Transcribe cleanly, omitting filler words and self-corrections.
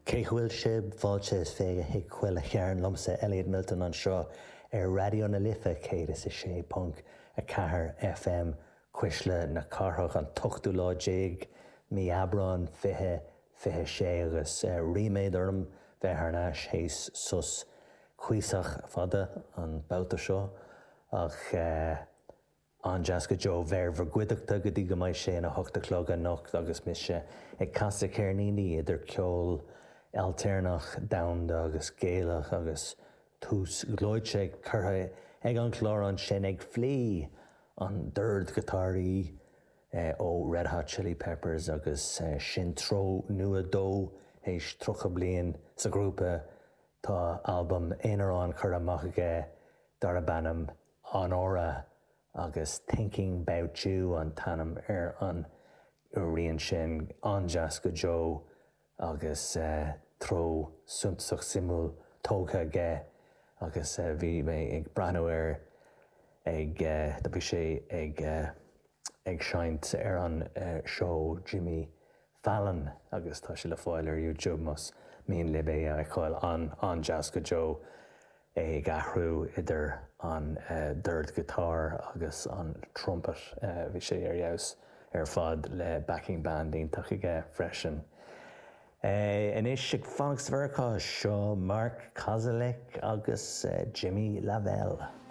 Cén chaoi a bhfuil sibh? Fáilte is fiche chuig Chuile Chearn liomsa, Elliot Milton anseo ar Raidió na Life 106.4 FM, Cuisle na Cathrach, an t-ochtú lá déag mí Aibreán 2026 agus ríméad orm bheith thar n-ais théis sos cuíosach fada an babhta seo ach An-deas go deo bheith ar bhur gcuideachta go dtí go mbeidh sé ina hocht a chlog anocht agus mise ag casadh ceirníní idir ceol ailtéarnach, domhanda agus Gaelach agus tús gleoite curtha ag an chlár ansin ag Flea, an dordghiotáraí ó Red Hot Chili Peppers agus sin treo nua dó théis 30 bliain sa ghrúpa. Tá albam aonarán curtha amach aige darb ainm Anora agus Thinking 'Bout You an t-ainm ar an rian sin. An-deas go deo agus treo suntasach suimiúil tógtha aige agus bhí mé ag breathnú air ag, bhí sé ag ag seinnt ar an seó Jimmy Fallon agus tá sé le fáil ar YouTube más mian libh é a fheiceáil. An-deas go deo é ag athrú idir an dordghiotár agus an trumpet. Bhí sé ar fheabhas ar fad le backing band iontach aige freisin. Anois ag fanacht sa Mheiriceá, seo Mark Kozelek agus Jimmy LaValle.